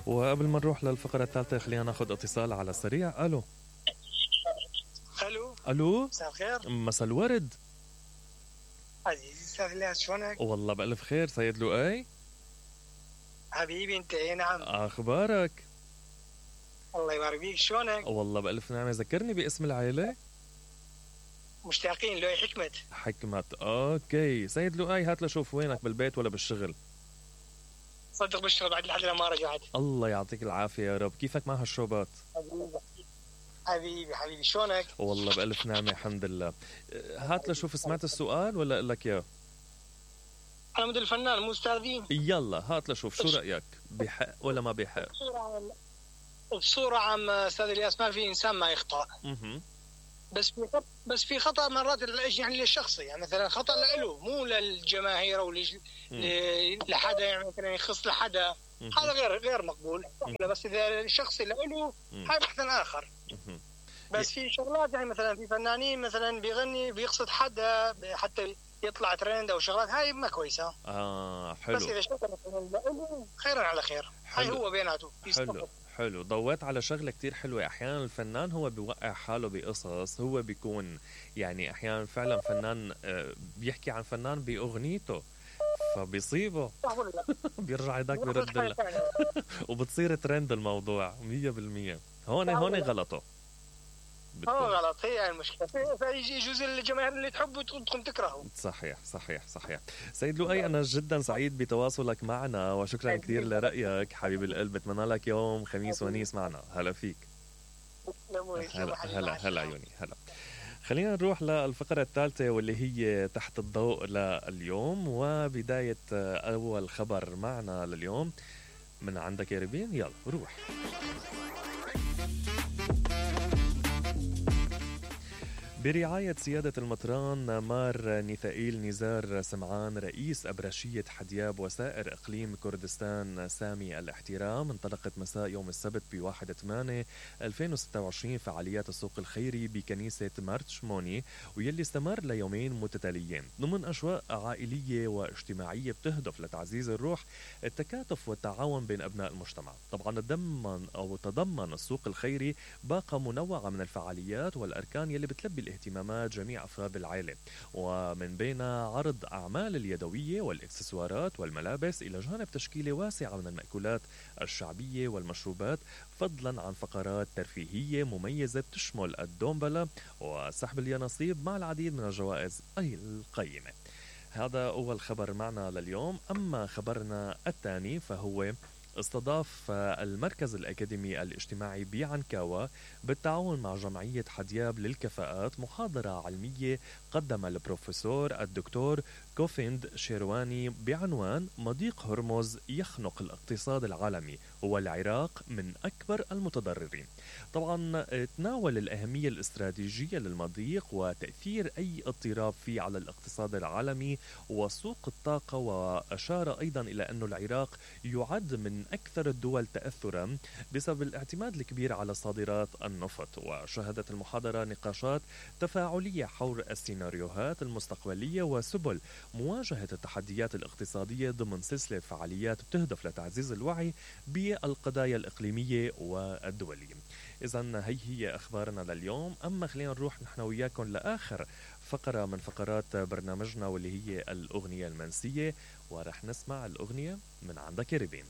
وقبل ما نروح للفقرة الثالثة خلينا ناخذ اتصال على السريع. الو الو مساء الخير. مساء الورد عزيزي استاذ الياس، شلونك؟ والله بألف خير. سيد لؤي حبيبي انت. اي نعم. اخبارك؟ الله يبارك فيك، شلونك؟ والله بألف نعمة. ذكرني باسم العائلة. مشتاقين. لؤي حكمت. حكمت. اوكي سيد لؤي، هات لشوف وينك، بالبيت ولا بالشغل؟ صدق بالشغل بعد لحد ما رجعت. الله يعطيك العافية يا رب. كيفك مع هالشوبات؟ حبيبي شلونك؟ والله بألف نعمة الحمد لله. هات لشوف، سمعت السؤال ولا اقول لك اياه؟ انا مثل الفنان مو استاذين. يلا هات لشوف، شو رأيك؟ بحق ولا ما بحق؟ بصورة عامة استاذ الياس ما في انسان ما يخطأ. بس في خطأ مرات يعني للشخصي، يعني مثلا خطأ له مو للجماهير او لحدا، يعني مثلا يخص لحدا، هذا غير مقبول. بس اذا الشخصي له هاي بحث اخر. بس في شغلات يعني مثلا في فنانين مثلا بيغني بيقصد حدا حتى يطلع ترند او شغلات، هاي ما كويسه. حلو. بس اذا شغله مثلا خيرا على خير، هاي هو بيناته. حلو. ضويت على شغله كتير حلوه. احيانا الفنان هو بيوقع حاله بقصص، هو بيكون يعني احيانا فعلا فنان بيحكي عن فنان باغنيته فبيصيبه بيرجع يدك بيرد له وبتصير ترند الموضوع 100%. هون غلطه. غلط. هي المشكلة. فيجوز الجماهير اللي تحبه تقوم تكرهه. صحيح. سيد لؤي، أنا جدا سعيد بتواصلك معنا وشكرا كثير لرأيك حبيب القلب. بتمنى لك يوم خميس ونيس معنا. هلا فيك. هلا عيوني. هلا. خلينا نروح للفقرة الثالثة واللي هي تحت الضوء لليوم، وبداية أول خبر معنا لليوم من عندك يا ربين. يلا روح. برعاية سيادة المطران مار نيثائيل نزار سمعان رئيس أبرشية حدياب وسائر إقليم كردستان سامي الاحترام، انطلقت مساء يوم السبت ب1/8/2026 فعاليات السوق الخيري بكنيسة مارتشموني، ويلي استمر ليومين متتاليين ضمن أجواء عائلية واجتماعية بتهدف لتعزيز الروح، التكاتف والتعاون بين أبناء المجتمع. طبعا تضمن السوق الخيري باقة منوعة من الفعاليات والأركان يلي بتلبي اهتمامات جميع أفراد العائلة، ومن بينها عرض أعمال اليدوية والإكسسوارات والملابس، إلى جانب تشكيلة واسعة من المأكولات الشعبية والمشروبات، فضلا عن فقرات ترفيهية مميزة بتشمل الدومبلا وسحب اليانصيب مع العديد من الجوائز القيمة. هذا أول خبر معنا لليوم. أما خبرنا الثاني فهو استضاف المركز الأكاديمي الاجتماعي بعنكاوا بالتعاون مع جمعية حدياب للكفاءات محاضرة علمية قدم البروفيسور الدكتور كوفيند شيرواني بعنوان مضيق هرمز يخنق الاقتصاد العالمي والعراق من أكبر المتضررين. طبعا تناول الأهمية الاستراتيجية للمضيق وتأثير أي اضطراب فيه على الاقتصاد العالمي وسوق الطاقة، وأشار أيضا إلى أن العراق يعد من أكثر الدول تأثرا بسبب الاعتماد الكبير على صادرات النفط. وشهدت المحاضرة نقاشات تفاعلية حول السيناريوهات المستقبلية وسبل مواجهة التحديات الاقتصادية ضمن سلسلة فعاليات بتهدف لتعزيز الوعي بالقضايا الإقليمية والدولية. إذن هي أخبارنا لليوم. أما خلينا نروح نحن وياكم لآخر فقرة من فقرات برنامجنا واللي هي الأغنية المنسية، ورح نسمع الأغنية من عندك يا ربين.